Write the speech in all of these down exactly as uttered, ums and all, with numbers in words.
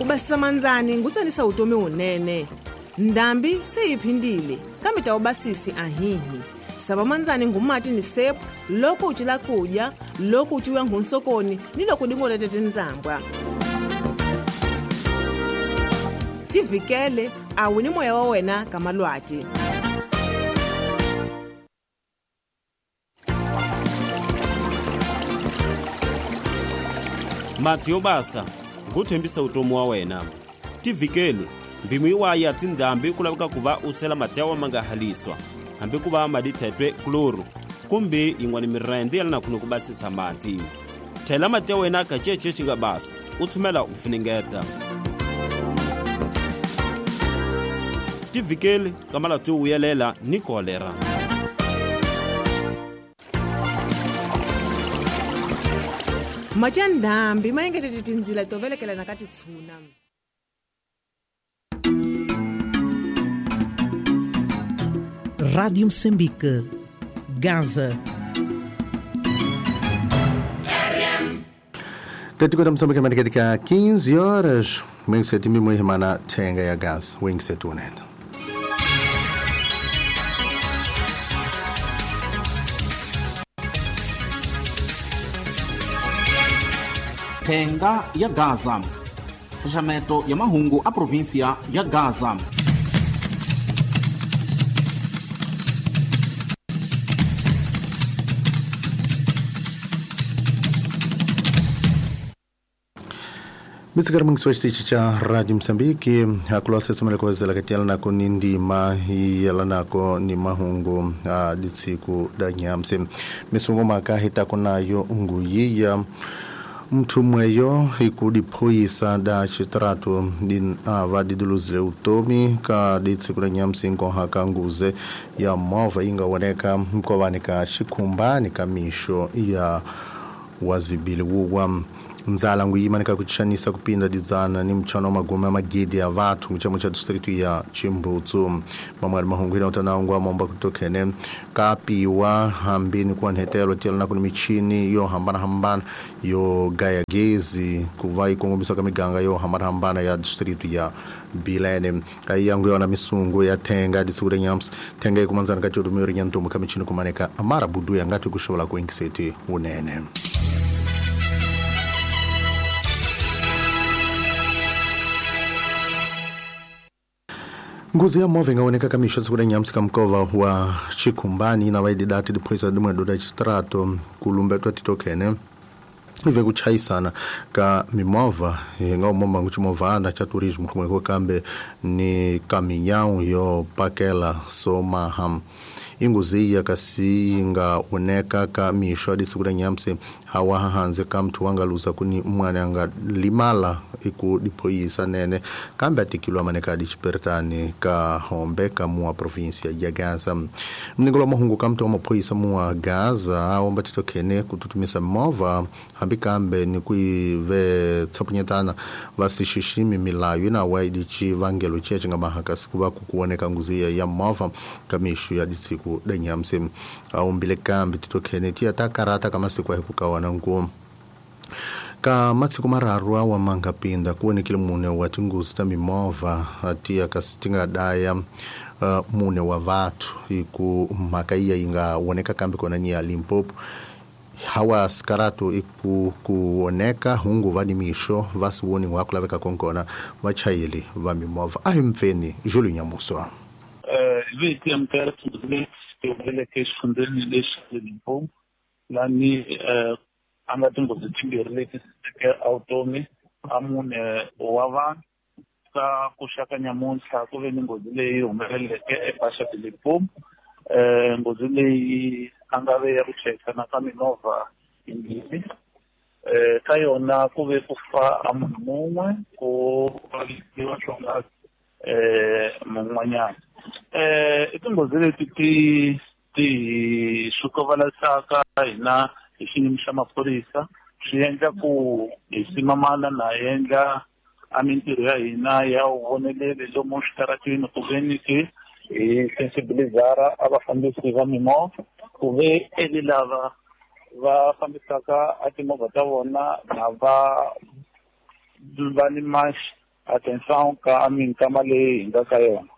Ku basisa mandzani ngutsanisa utomi wunene. Ndhambi se yi phindile kambe ta ubasisi ahihi. Sava mandzani ngumati ni sepu loko u cila kudya, loko u ciwa nghunsokoni ni loko dingolete tindzambwa. Tivikele a wu ni moya wa wena ka malwati. Mati yo basa nguthembisa utomi wa wena. Tivikele mbimu yiwaya tindhambi ku laveka ku va u sela mati ya ma nga haliswa hambi ku va madi thetwe kloro kumbe yin'wana mirende ya lana ku ku basisa mati. Thela mati ya wena ka cece xi nga basa u tshumela u funengeta. Tivikele ka malwati yo vuyelela ni kolera. Mati ya ndhambi ma engetete tindzila to velekelana ka titshuna. Rádio Moçambique, Gaza. Katika Moçambique katika quinze horas, wengi mimi mwana tenga ya Gaza, wengi setunena. Tenga ya Gaza. Xaxameto ya mahungu a província ya Gaza. Mitsikari mungi wa cha Radio Moçambique hakulo sesomela ko zela katiela nako ni ndima yela nako ni mahungu a ditsiku da nyamse misungo maka hitako nayo nguyiya mthu mweyo ikudiphoyisa da chitratu din ava diduluzile utomi ka ditsiku da nyamse nkoha ka nguze ya mova ingawoneka mkovani ka xikhumbani ka mixo ya wazibili wuwa nzala nguyima kuchanisa kupinda didzana ni mchano magome magidi ya vatu mchamo cha district ya Chimbutsu mamwali mahungwira utanangwa momba kutokene kapiwa hambini kwa nhetelo tela na michini yo hambana hambana yo gaya gezi kuva ikongomisa kamiganga yo hambana hambana ya district ya Bilene ayangu yona misungu ya tenga disure nyams tenga ikumanzana kachodu nyantumbu kamichini kumaneka amara budu ya ngati kushola kuingiseti unene. Nguzi ya move ingaoneka kamisho tsukule nyamsika mkova wa Chikumbani na waidi dati diphoisa dimwe doda chitrato kulumbe twatitokene ive kuchayisana ka mimova nga umomba nguchimovana cha turismo kumwe kambe ni kaminyawu yo pakela somaha inguzi ya kasi inga oneka ka misho adisukule nyamse hawa hanze kamtu wangaluza kuni mwana anga limala iku diphoyisa nene kambe atikilwa maneka dichipertani ka hombe ka mua provincia ya Gaza mningolo mahungu kamtu wa maphoyisa mua Gaza aomba titokene kututumisa mova hambi kambe ni kuive tsapunyetana vasishishimi milayo na waidichi vangelo cheche nga mahakasi kuva kukuoneka nguzi ya mova kamishu ya ditsiku denyamse aombile kambe titokene tiya takarata kama siku ahikukawana ngu ka matsiku mararu awa mangapinda kuonekile mune wa tinguzi ta mimova atiya kasi tingadaya uh, mune wa vathu iku mhaka iya ingaoneka kambe kona ni ya Limpopo hawa sikaratu iku kuoneka hungu va ni mixo va siwoni wa kulaveka konkona vachayeli va mimova a hi mpfeni Júlio Nyamuswa. Viti ya mtereti exifundeni lexi Limpopo lani a nga tinghozi timbirhi leti teke automi a mune wa vanhu ka ku xaka nyamuntlha ku ve ni nghozi leyi humeleleke eBasha de Limpopo. Eh nghozi leyi a nga ve ya ku chayisana ka mimovha yimbirhi eh ka yona ku ve ku fa a munhu mun'we ku vavisiwa swonghasi eh mun'wanyana. Eh i tinghozi leti ti ti sukovalasaka hina hi xiyimo xa maphorisa swi endla ku hi simamana na endla a mintirho ya hina ya vonelele lomu switarateni ku ve ni ke hi sensibilizara a vafambisi va mimovha ku ve eli lava va fambisaka a timovha ta vona na va va ni Atenção ka minkama leyi hi nga ka yona.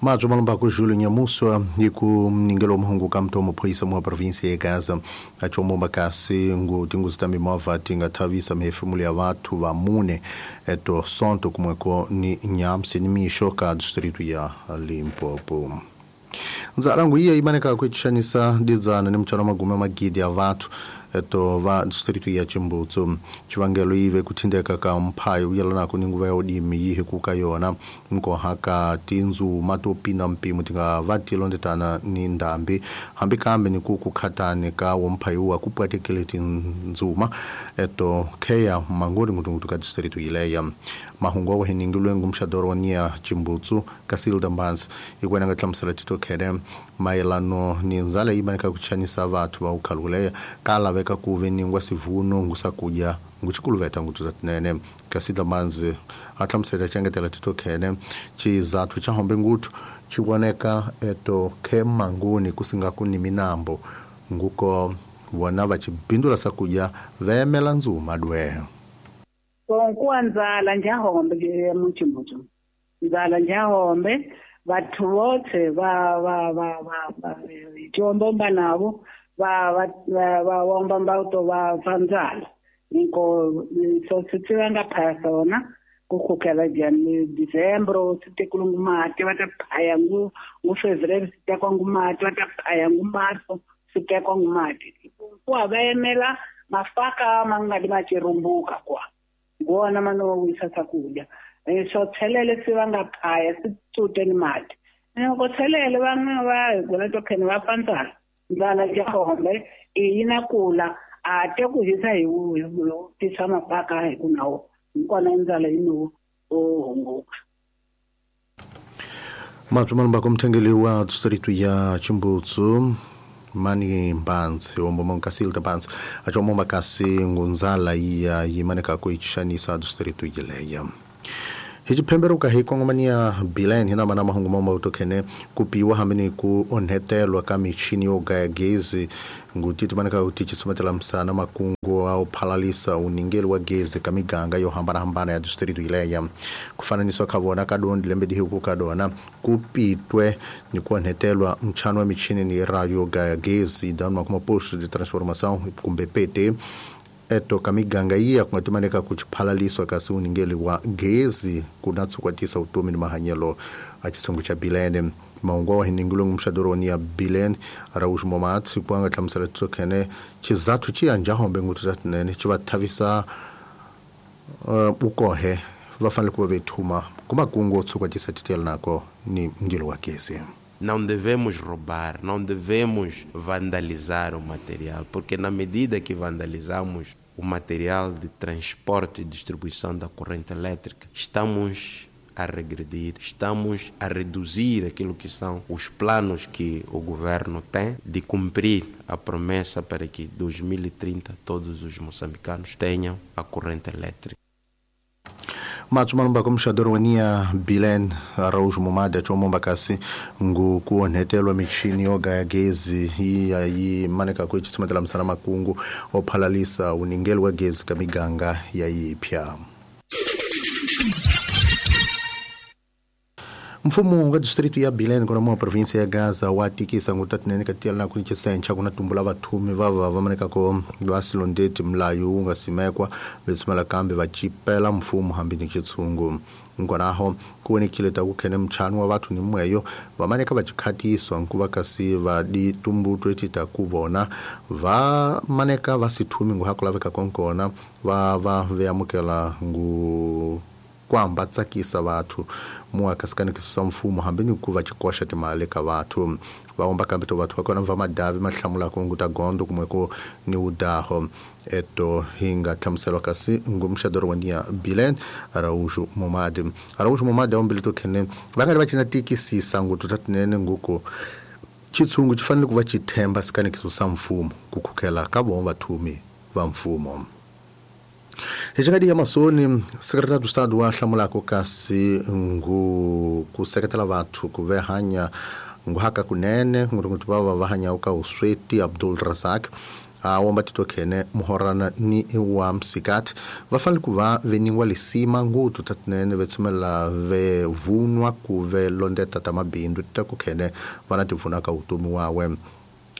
Madzo malomba Júlio Nhamussua e ku mningelo mhungu ka mtomo phoyisa mwa província ya Gaza achomomba kasi ngu tingozi ta mimovha ti nga thavisa mihefemulo ya vathu va mune eto sonto kumweko ni Nhamsi ni mixo ka distrito ya Limpopo. Nzarangu iya imaneka kuitxanisa didzana ni mutshano magume magidi ya vathu eto va distrito ya Chimbutsu. Chivangelo ive kuthindeka ka mphayo uyelanako ni nguva ya udimi yihi kuka yona nkoha ka tindzuma to pina mpimo ti nga va ti londetana ni ndhambi hambi kambe ni ku kukhatani ka womphayo wa ku pwatekele tindzuma eto kheya mangoni ngutungutu ka distrito yileya. Mahungu wa heningilwe ngumxadoro wa nia Chimbutsu ka Silda Mbanzi ikwena nga hlamusela tito khene mayelano ni ndzala yi maneka ku chanisa vathu va ukhaluleya ka laveka ku ve ningwa sivuno ngusakudya nguchikuluveta ngutuza tinene. Ka Silda Mbanzi a hlamusela xengetela tito khene chizathu cha hombe nguthu chivoneka eto khe mangoni kusingaku ni minambo nguko vona va chibindula sakudya vemela ndzuma dwe. Konkuwa ndzala njahombe muchimbutsu ndzala njahombe vathu vothe va va va va tiombomba navo va va va womba mbauto va va ndzala nko so swi va nga phaya swona ku khukela jani December swi tekiwe mati va ta phaya ngu ngu February swi tekiwa ngu mati va ta phaya ngu Marso swi tekiwa ngu mati ku va yimela mafaka ma nga di ma chirumbuka kwa ngona mano wisa sakudya so tshelele swi va nga phaya swi tsute ni mati loko tshelele va nga va gula to khene va pandzala ndzala jahombe i na kula a te ku hisa hi tisa mapaka hi ku nawo nkona ndzala yi no o hunguka. Matsumalomba kumthengeli wa distrito ya Chimbutsu Mani Mbanzi omboma Nkasilda Mbanzi achomomba kasi ngunzala iya yimaneka ku ichanisa distrito yileya. Hichiphemberuka hi kongomania Bilene hina mana mahungu mama utokhene kupiwa hamene ku onhetelwa ka michini yo gaya gezi ngutiti maneka utichisumatela msana makungu au phalalisa uningeli wa gezi ka miganga yo hambana hambana ya distrito ileya. Kufananiswa kavona kadondi lembe dihuku kadona kupitwe ni kuonhetelwa mchano wa michini ni radio gaya gezi danwa kuma posto de transformação kumbe P T eto kamiganga iya kungatimaneka kuchiphalaliswa kasi uningeli wa gezi kunatsukwatisa utomi ni mahanyelo a chisungu cha Bilene. Maungwa wa hiningilwe ngumshadoroni ya Bilene Araújo Momatsi kwanga hlamusela tsokhene chizathu chiyanja hombe ngutu tatinene chivathavisa uh, ukohe vafanele kuva vethuma kumakungu otsukwatisa titela nako ni mngelo wa gezi. Não devemos roubar, não devemos vandalizar o material, porque na medida que vandalizamos o material de transporte e distribuição da corrente elétrica, estamos a regredir, estamos a reduzir aquilo que são os planos que o governo tem de cumprir a promessa para que em dois mil e trinta todos os moçambicanos tenham a corrente elétrica. Matsumalomba kumxadoro wa nia Bilene Araújo Momadi achomomba kasi ngu kuonhetelwa michini yo gaya gezi iya yi maneka ku chisumatela msana makungu ophalalisa uningeli wa gezi ka miganga ya yipya. Mfumo wa distrito ya Bilene kona mwa província ya Gaza wa tikisa ngutatinene katiela na kuchisencha kuna tumbula vathumi vava vamaneka ko vasilondeti mlayo unga simekwa vetsumela kambe vachipela mfumo hambi ni chitsungu. Nkonaho kuonekile ta kukhene mchano wa vathu ni mweyo vamaneka vachikhatiswa nkuva kasi va ditumbutwe tita kuvona vamaneka vasithumi nguhakulaveka konkona va va veamukela ngu kwamba tsakisa vathu muakasikanikiso sa mfumo hambi ni ku va chikoxa timali ka vathu va kambe to vathu va kona va madavi mahlamula ku hunguta gondo kumwe ku ni udaho eto hinga hlamuselwa kasi ngumxadoro wa nia Bilene Araújo Momadi. Araújo Momadi ombili to khene va nga ri va cina tikisisa ngutu tatinene nguku chitsungu chi fanele ku va chithemba sikanikiso sa mfumo ku khukhela ka vona vathumi va mfumo. Hechakadi ya masoni secretário do Estado wa hlamulako kasi ngu ku seketela vathu ku ve hanya nguhaka kunene ngutungutu va va hanya ka usweti Abdul Razak A womba titokhene muhorana ni wa msikati va fanele ku va veningwa lisima nguthu tatinene ve tshumela ve vunwa ku ve londeta ta mabindzu ta ku khene va na tivuna ka vutomi wawe.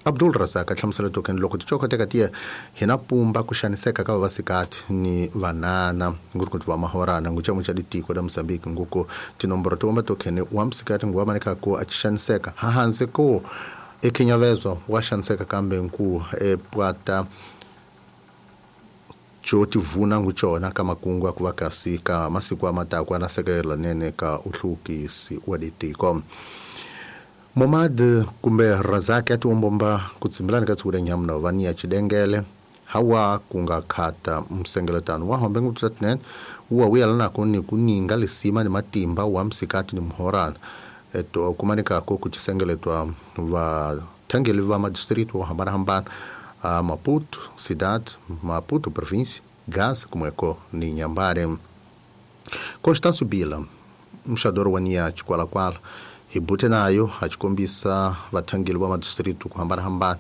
Abdul Razak a hlamusela tokhene loko tichokoteka tiya hina pumba ku xaniseka ka vavasikati ni vanana nguthu va mahorana nguchamo cha ditiko da Mozambique nguko tinomboro to womba tokhene wa msikati nguwa maneka ku a xaniseka hahanze ko ekhinyavezwa wa xaniseka kambe nku epwata xo tivuna nguchona ka makungu ku va kasi ka masiku amatakwa na sekela nene ka uhlukisi wa ditiko. Momad kumbe Razak ya tiwombomba ku tsimbilani ka tsukule nyamuna va ni ya chidengele hawa kunga khata msengeletano wa hombe nguthu tatinene uwa wuyelana ni kuninga lisima ni matimba wa msikati ni muhorana eto kumanika ko kuchisengeletwa va thangeli va madistrito wo hambanahambana a Maputo cidade, Maputo província, Gaza kumweko ni Nyambare. Constâncio Bila mxador wa nia Chikwalakwala hibute nayo achikombisa vathangeli va madistrito ku hambanahambana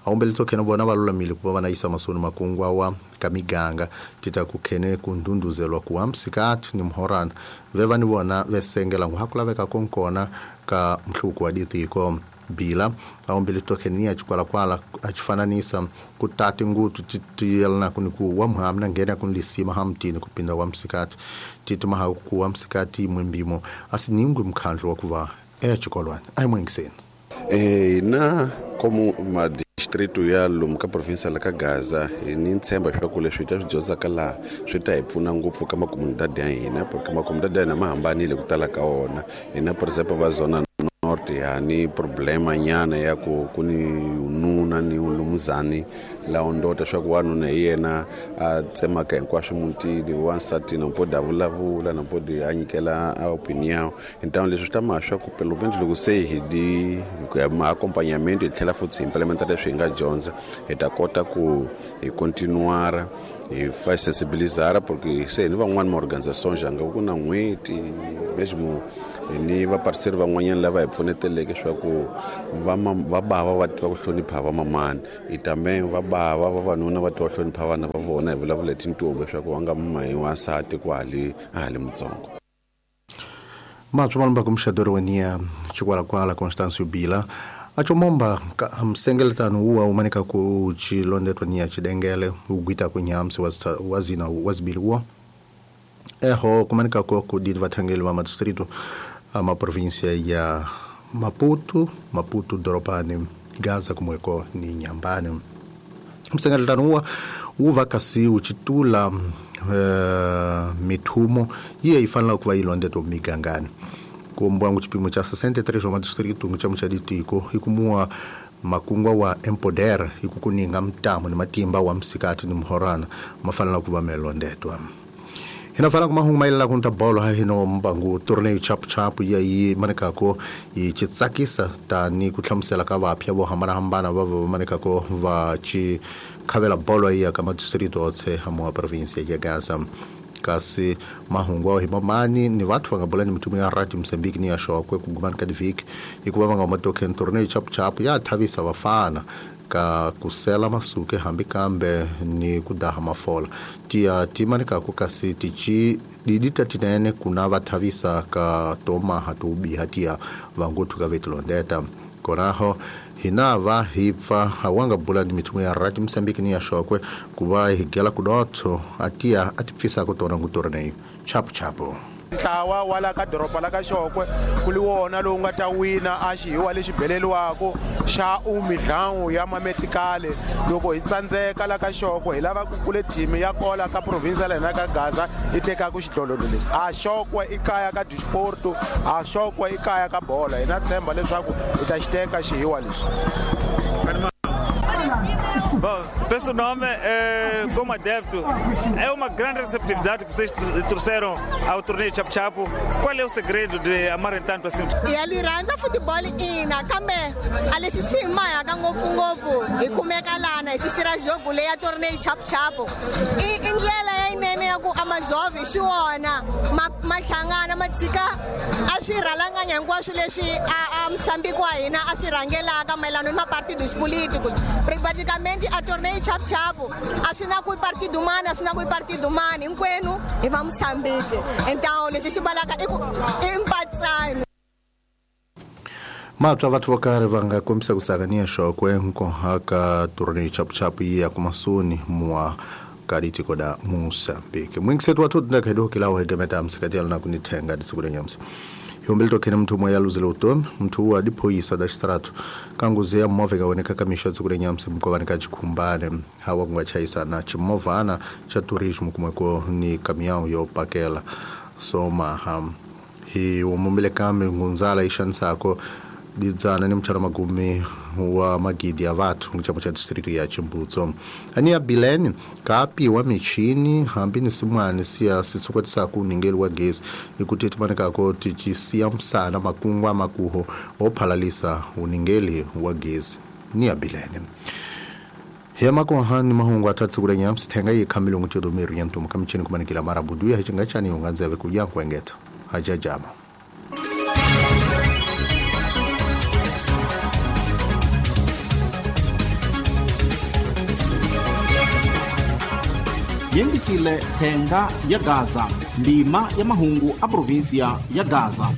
awombele tokhene vona va lulamile ku va va na yisa masoni makungu wa ka miganga tita ku khene ku ndunduzelwa ku wa msikati ni muhorana ve va ni vona ve sengela ngu ha ku laveka konkona ka mhluko wa ditiko. Bila awombele tokhene ni ya Chikwalakwala achifananisa ku tati nguthu tiyelana ku ni ku wa muhami na nghena ku ni lisima hamtini ku pinda wa msikati titi maha ku wa msikati mwimbimo asiningwi mkhandlu wa ku va echikolwana a hi mwingiseni. Eh na como uma distrito ya lomu ka province la ka Gaza ni ntshemba leswaku leswi ta swi dyondzaka laha swi ta hi pfuna ngopfu ka makomunidadi ya hina porque makomunidadi ya hina ma hambanile ku tala ka wona. Hina por exemplo va zona norte ha ni problema nyana ya ku ku ni nuna ni lumuzani la ondota swa ku wanuna hi yena a tsemaka hinkwaswo mutini wansati na mpoda vulavula na mpodi a nyikela a opinion. Então leswi swi ta ma swa ku pelo menos loko se hi di ku ya ma acompanhamento hi tlhela futhi hi implementa leswi hi nga dyondza hi ta kota ku hi continuar hi fa sensibilizar porque se ni van'wani ma organizations janga ku na n'hweti mesmo ni va parceiro van'wanyana lava hi pfuneteleke swa ku va va bava va tiva ku hlonipha va mamani i também va bava vavanuna va tiva hlonipha vana va vona hi vulavula hi tintombi swa ku va nga mahi wansati ku hali a hali mutsongo. Matswa malumba kumxadori wa nia Chikwalakwala Constâncio Bila achomomba msengeletano uwa umanika ku chilondetwa nia chidengele ugwita ku nyamsi wazina wazibili uwa eho kumanika ko ku didi vathangeli va madistrito ma província ya Maputo, Maputo Doropani, Gaza kumweko ni Nyambane. Msengeletano uwa uva kasi uchitula uh, mithumo iye ifanela kuva ilondetwa migangani kumbwangu chipimo cha sessenta e três wa madistrito nguchamo cha ditiko ikumua makungwa wa empoder ikukuninga mtamo ni matimba wa msikati ni muhorana mafanela kuva melondetwa. Hina fala kuma hungu maila kunta bolo ha hino mbangu torneo chapu chapu ya yi manikako yi chitsakisa ta ni kuhlamusela ka vapya vo hambanahambana va va manikako va chi khavela bolo ya ka madistrito otse hamuwa província ya Gaza. Kasi mahungu ao hi mamani ni vathu va nga bula ni mitumu ya Radio Mozambique ni ya Xokwe ku gumani ka divhiki hikuva va nga huma token torneo chapu chapu ya thavisa vafana ka kusela masuke hambi kambe ni kudaha mafola tiya timanika ku kasi tichi didita tinene kuna vathavisa ka tomaha tubiha tiya vanguthu ka vetilondeta koraho hina va hi pfa awanga bula ni mithumu ya Radio Mozambique ni ya Xokwe ku va hi gela kudotso atiya a ti pfisa ku tona ngutornei chapu chapu. Ntlawa wa la ka doroba la ka Xokwe ku li wona lowu nga ta wina a xihiwa lexi beleliwako xa umidlangu ya mametikale loko hi tsandzeka la ka Xokwe hi lava ku kule team ya kola ka province la hina ka Gaza yi tekaka xidlodlo lexi. A Xokwe i kaya ka disporto, a Xokwe i kaya ka bola. Hina tshemba leswaku hi ta xi teka xihiwa lexi. Bom, peço nome, é, como adepto, é uma grande receptividade que vocês trouxeram ao torneio Chapu Chapu. Qual é o segredo de amarem tanto assim? E ali randza futebol ina kambe a lexi xi hi mahaka ngopfungopfu hi kumeka lana hi sisira jogo leya torneio Chapu Chapu. I i ndlela yinene ya ku a majovem xi wona ma ma hlangana ma tshika a swi rhalanganya hinkwaswo leswi a Moçambique wa hina a swi rhangelaka mayelana ni mapartidos políticos. Praticamente a torneio chapu-chapu a swi na ku partido mani a swi na ku partido mani hinkwenu hi va Moçambique. Então lexi xi valaka i ku i mpatsano. Matwa vathu vo karhi va nga kombisa ku tsaka ni ya xokwe nkohaka torneio chapu-chapu yi ya kumasuni mwa karitiko da Moçambique. Mwingisetu wa thutu ndakhedo kilawo hegemeta msikati na kunithenga disiku lenyamsi. Yombele tokhene mnthu umwe yaluzile utomi mnthu uwa diphoyisa da xitratu kanguzi ya movha ikaoneka kamisha tsiku lenyamsi mkovani ka chikhumbane hawa kungachayisana chimovhana cha turismo kumweko ni kamião yo pakela somaha hi umumbile kambe ngunzala ixanisako didzana ni mutshalo magumi wa magidi ya vathu ngichamo cha district ya Chimbutso ani ya Bilene kapiwa michini hambi ni simwani siya sitsukwatisaku uningeli wa gesi ikuti timanikako tichisiya msana makungwa makuho ophalalisa uningeli wa gesi ni ya Bilene hiamakoha ni mahungu atatsi kulenya msithenga yikhamile ngutyedo miru ya ntumu kamichini kumanikila marabudu ya hicingachani yunganzeve kuya nkwengeta hajajama. Yingisile thenga ya Gaza, ndima ya mahungu a província ya Gaza.